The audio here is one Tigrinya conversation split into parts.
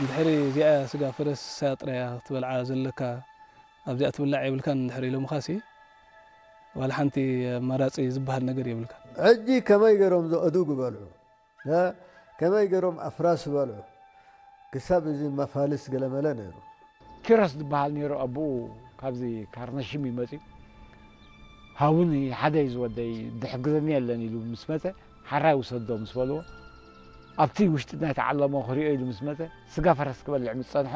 እንድሕሪ እዚኣ ስጋ ፈረስ እሳ ጥራያ ክትበልዓ ዘለካ ኣብዚኣ ትብላዕ የብልካን እንድሕር ኢሎምኻሲ ዋላ ሓንቲ ኣማራጺ ዝበሃል ነገር የብልካን። ሕጂ ከመይ ገይሮም ዝእዱግ በልዑ፣ ከመይ ገይሮም ኣፍራስ በልዑ፣ ክሳብ እዚ መፋልስ ገለመለ ነይሩ። ኪሮስ ዝበሃል ነይሩ ኣቦኡ ካብዚ ካርነሽም እዩ መፅዩ። ሃቡኒ ሓደ እዩ ዝወደይ ዝሕግዘኒ የለን ኢሉ ምስ መፀ ሓራይ ውሰዶ ምስ በልዎ ኣብቲ ውሽጢ ናይ ተዓለሞ ክሪኦ ኢሉ ምስ መፀ ስጋ ፈረስ ክበልዕ ምስ ፀንሖ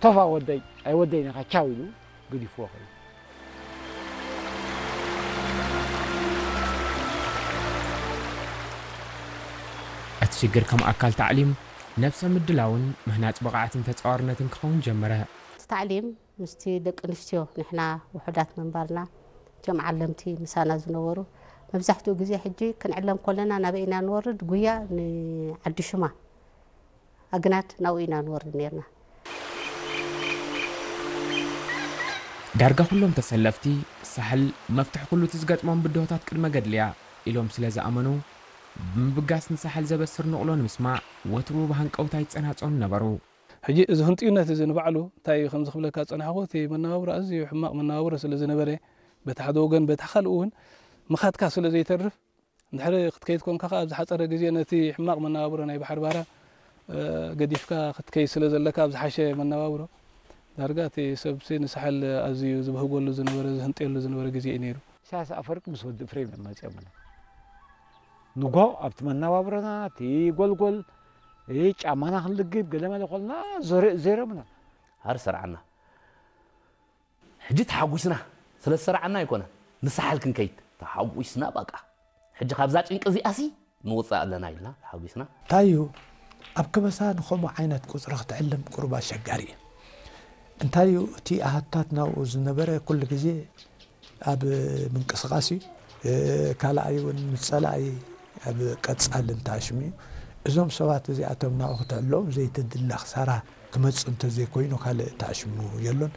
ቶፋ ወደይ ኣይወደይን ኢኻ ቻው ኢሉ ገዲፍዎ ከይዱ። እቲ ሽግር ከም ኣካል ታዕሊም፣ ነብሰ ምድላውን ምህናጽ ብቕዓትን ተጻዋርነትን ክኸውን ጀመረ። እቲ ታዕሊም ምስቲ ደቂ ኣንስትዮ ንሕና ውሑዳት ምንባርና እቲኦም ዓለምቲ ምሳና ዝነበሩ መብዛሕትኡ ግዜ ሕጂ ክንዕለም ከለና ናበይ ኢና ንወርድ ጉያ ንዓዲ ሽማ ኣግናድ ናብኡ ኢና ንወርድ ነርና። ዳርጋ ኩሎም ተሰለፍቲ ሳሕል መፍትሒ ኩሉ እቲ ዝገጥሞም ብድሆታት ቅድመ ገድሊ እያ ኢሎም ስለ ዝኣመኑ ብምብጋስ ንሳሕል ዘበስር ንቕሎ ንምስማዕ ወትሩ ብሃንቀውታ ይጸናጸኑ ነበሩ። ሕጂ እዚ ህንጥዩነት እዚ ንባዕሉ እንታይ እዩ ከምዚ ክብለካ ዝጸናሕኹ እቲ መነባብሮ ኣዝዩ ሕማቕ መነባብሮ ስለ ዝነበረ በቲ ሓደ ወገን በቲ ካልእ እውን ምኻድካ ስለ ዘይተርፍ እንድሕሪ ክትከይድ ኮንካ ከኣ ኣብ ዝሓጸረ ግዜ ነቲ ሕማቕ መነባብሮ ናይ ባሕሪ ባራ ገዲፍካ ክትከይድ ስለ ዘለካ ኣብ ዝሓሸ መነባብሮ ዳርጋ እቲ ሰብሲ ንሳሕል ኣዝዩ ዝብህጎሉ ዝነበረ ዝህንጥየሉ ዝነበረ ግዜ እዩ ነይሩ። ኢሳያስ ኣፈወርቂ ምስ ወዲ እፍሬም እዮም መጺኦምና። ንጎ ኣብቲ መነባብሮና እቲ ጎልጎል እ ጫማና ክንልግብ ገለመለ ኮልና ዞረ- ዜሮምና። ሃር ሰርዓና። ሕጂ ተሓጒስና ስለ ዝሰርዓና ኣይኮነን ንሳሕል ክንከይድ ተሓጒስና በቃ ሕጂ ካብዛ ጭንቂ እዚኣሲ ንውፅእ ኣለና ኢልና ተሓጒስና። እንታይ እዩ ኣብ ከበሳ ንኸምኡ ዓይነት ቁፅሪ ክትዕልም ቁሩብ ኣሸጋሪ እዩ። እንታይ እዩ እቲ ኣሃታት ናብኡ ዝነበረ ኩሉ ግዜ ኣብ ምንቅስቓስ እዩ። ካልኣይ እውን ምስ ፀላኢ ኣብ ቀፃሊ እንተኣሽሙ እዩ። እዞም ሰባት እዚኣቶም ናብኡ ክትዕሎም ዘይተድሊ ክሳራ ክመፅእ እንተዘይኮይኑ ካልእ ተኣሽሙ የሎን።